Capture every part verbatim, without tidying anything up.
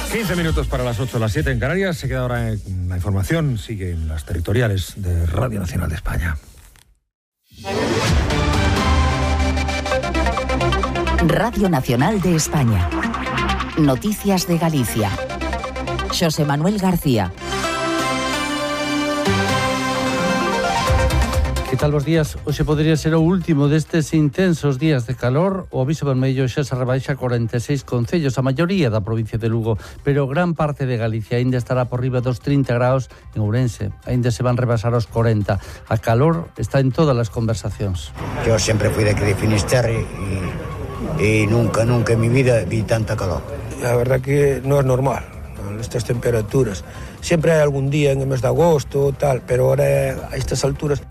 quince minutos para las ocho, las siete en Canarias. Se queda ahora en la información. Sigue en las territoriales de Radio Nacional de España. Radio Nacional de España. Noticias de Galicia. Xosé Manuel García. Que tal os días? Hoxe podría ser o último destes intensos días de calor. O aviso vermello xa se rebaixa a corenta e seis concellos, a maioría da provincia de Lugo, pero gran parte de Galicia aínda estará por riba dos trinta graus. En Ourense aínda se van rebasar os corenta. A calor está en todas as conversacións. Yo sempre fui de aquí de Finisterre e, e nunca, nunca en mi vida vi tanta calor. La verdad que no es normal, estas temperaturas. Siempre hay algún día en el mes de agosto, tal, pero ahora a estas alturas...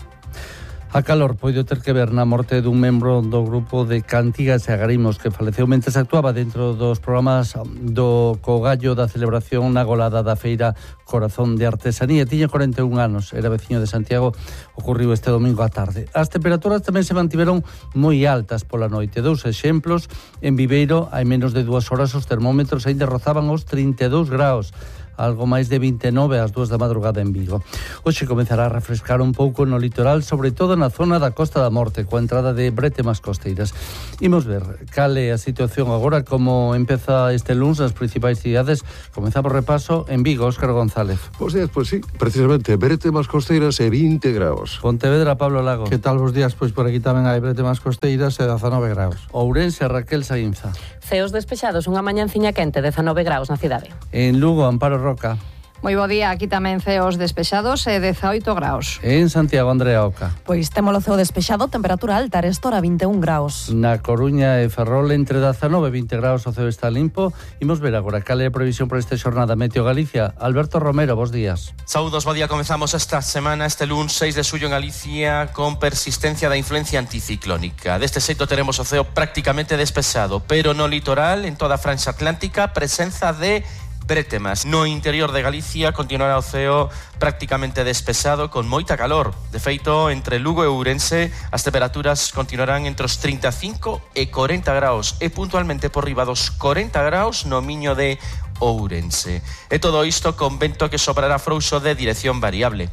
A calor poido ter que ver na morte dun membro do grupo de Cantigas e Agarimos que faleceu mentres actuaba dentro dos programas do Cogallo da celebración na golada da feira Corazón de Artesanía. Tiña corenta e un anos, era veciño de Santiago, ocorriu este domingo á tarde. As temperaturas tamén se mantiveron moi altas pola noite. Dous exemplos, en Viveiro hai menos de dúas horas os termómetros aínda rozaban os trinta e dous graus. Algo máis de vinte e nove ás dúas da madrugada en Vigo. Hoxe comezará a refrescar un pouco no litoral, sobre todo na zona da Costa da Morte, coa entrada de Bretemas costeiras. Imos ver cal é a situación agora, como empeza este luns nas principais cidades. Comezamos repaso en Vigo, Óscar González. Bos días, pois sí, precisamente, Bretemas costeiras e vinte graus. Pontevedra, Pablo Lago. Que tal bos días? Pois por aquí tamén hai Bretemas costeiras e dezanove graus. Ourense, Raquel Saínza. Ceos despexados, unha mañanciña quente, dezanove graus na cidade. En Lugo, Amparo Roca. Moi bo día, aquí tamén ceos despexados e dezaoito graus. En Santiago, Andrea Oca. Pois temos o ceo despexado, temperatura alta, arestora vinte e un graus. Na Coruña e Ferrol entre dezanove e vinte graus o ceo está limpo. Imos ver agora cal é a previsión para esta xornada. Meteo Galicia, Alberto Romero, bos días. Saúdos, bo día, comezamos esta semana, este luns seis de xullo en Galicia, con persistencia da influencia anticiclónica. Deste xeito teremos o ceo prácticamente despexado, pero no litoral, en toda a franxa atlántica, presenza de Bretemas. No interior de Galicia continuará o ceo prácticamente despexado con moita calor. De feito, entre Lugo e Ourense as temperaturas continuarán entre os trinta e cinco e corenta graus e puntualmente por riba dos corenta graus no Miño de Ourense. E todo isto con vento que soprará frouxo de dirección variable.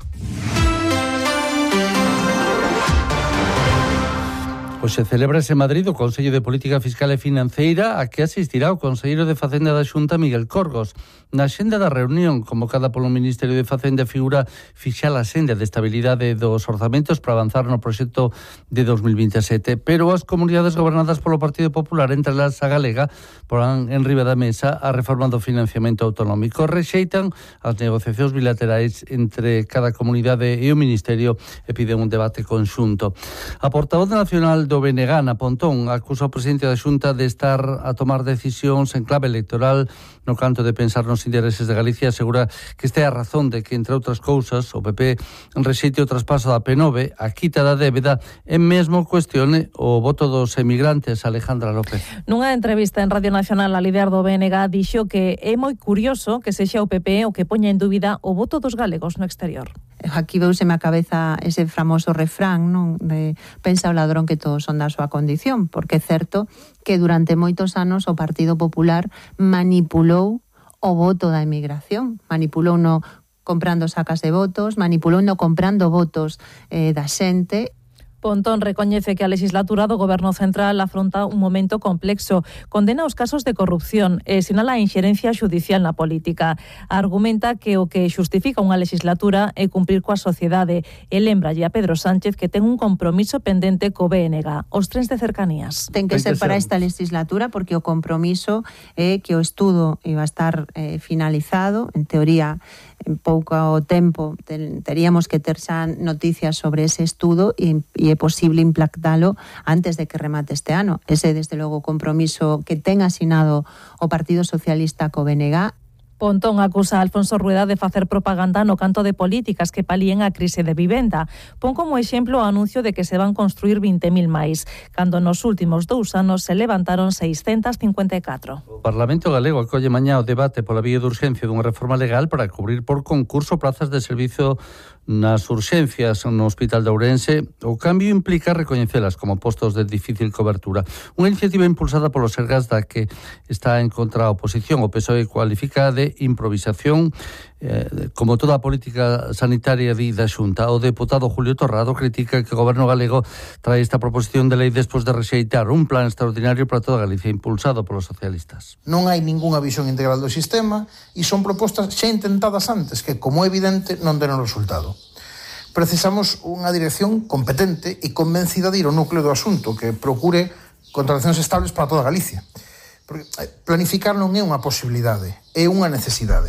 Hoxe celebrase en Madrid o Consello de Política Fiscal e Financeira a que asistirá o Conselleiro de Facenda da Xunta, Miguel Corgos. Na xenda da reunión convocada polo Ministerio de Facenda figura fixar a senda de estabilidade dos orzamentos para avanzar no proxecto de dos mil vinte e sete, pero as comunidades gobernadas polo Partido Popular, entre elas a galega, porán en riba da mesa a reforma do financiamento autonómico. Rexeitan as negociacións bilaterais entre cada comunidade e o Ministerio e piden un debate conxunto. A portavoz nacional do B N G, Ana Pontón, acusa o presidente da Xunta de estar a tomar decisións en clave electoral no canto de pensar nos intereses de Galicia. Asegura que esta é a razón de que, entre outras cousas, o P P rexeite o traspaso da P nove, a quita da débeda e mesmo cuestione o voto dos emigrantes. Alejandra López. Nunha entrevista en Radio Nacional, a líder do B N G dixo que é moi curioso que sexa o P P o que poña en dúbida o voto dos galegos no exterior. Aquí veuseme a cabeza ese famoso refrán, non? De pensa o ladrón que todos son da súa condición, porque é certo que durante moitos anos o Partido Popular manipulou o voto da emigración, manipulou no comprando sacas de votos, manipulou no comprando votos eh, da xente. Pontón recoñece que a legislatura do Goberno Central afronta un momento complexo, condena os casos de corrupción e sinala a inxerencia xudicial na política. Argumenta que o que xustifica unha legislatura é cumprir coa sociedade e lembralle a Pedro Sánchez que ten un compromiso pendente co B N G, os trens de cercanías. Ten que ser para esta legislatura porque o compromiso é que o estudo iba a estar eh, finalizado, en teoría en pouco tempo ten, teríamos que ter xa noticias sobre ese estudo e, e é posible implantalo antes de que remate este ano. Ese, desde logo, compromiso que ten asinado o Partido Socialista co B N G. Pontón acusa a Alfonso Rueda de facer propaganda no canto de políticas que palíen a crise de vivenda. Pon como exemplo o anuncio de que se van construir vinte mil máis, cando nos últimos dous anos se levantaron seiscentas cincuenta e catro. O Parlamento Galego acolle mañá o debate pola vía de urxencia dunha reforma legal para cubrir por concurso plazas de servizo nas urxencias no Hospital de Ourense. O cambio implica recoñecelas como postos de difícil cobertura. Unha iniciativa impulsada polo Sergas da que está en contra a oposición. O P S O E cualifica de improvisación eh, como toda a política sanitaria di da Xunta. O deputado Julio Torrado critica que o Goberno galego trae esta proposición de lei despois de rexeitar un plan extraordinario para toda Galicia impulsado polos socialistas. Non hai ningunha visión integral do sistema e son propostas xa intentadas antes que, como é evidente, non deron resultado. Precisamos unha dirección competente e convencida de ir ao núcleo do asunto, que procure contratacións estables para toda Galicia. Porque planificar non é unha posibilidade, é unha necesidade.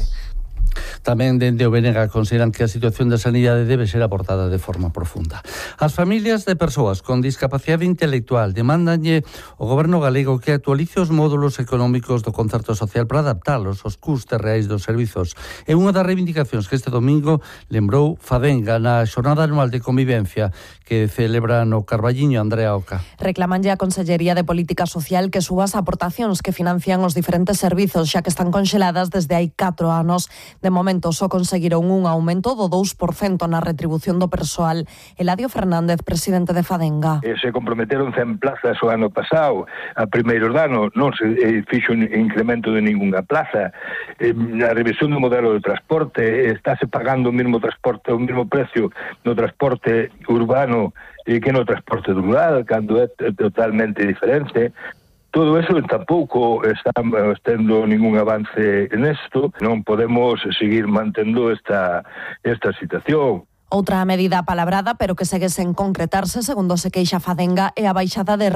Tamén dende o Benega consideran que a situación da sanidade debe ser abordada de forma profunda. As familias de persoas con discapacidade intelectual demandanlle ao Goberno galego que actualice os módulos económicos do concerto social para adaptalos aos custes reais dos servizos. É unha das reivindicacións que este domingo lembrou Fadenga na xornada anual de convivencia que celebra no Carballiño Andrea Oca. Reclamanlle a Consellería de Política Social que suba as aportacións que financian os diferentes servizos, xa que están conxeladas desde hai catro anos. De momento só conseguiron un aumento do dous por cento na retribución do persoal. Eladio Fernández, presidente de Fadenga. Eh, se comprometeron cen plazas o ano pasado, a primeiros danos non se eh, fixo un incremento de ningunha plaza. Eh, a revisión do modelo de transporte, eh, estáse pagando o mesmo transporte, o mesmo precio no transporte urbano eh, que no transporte rural, cando é totalmente diferente. Todo eso tampouco estamos tendo ningún avance nesto. Non podemos seguir mantendo esta, esta situación. Outra medida palabrada, pero que segue sen concretarse, segundo se queixa Fadenga, é a baixada de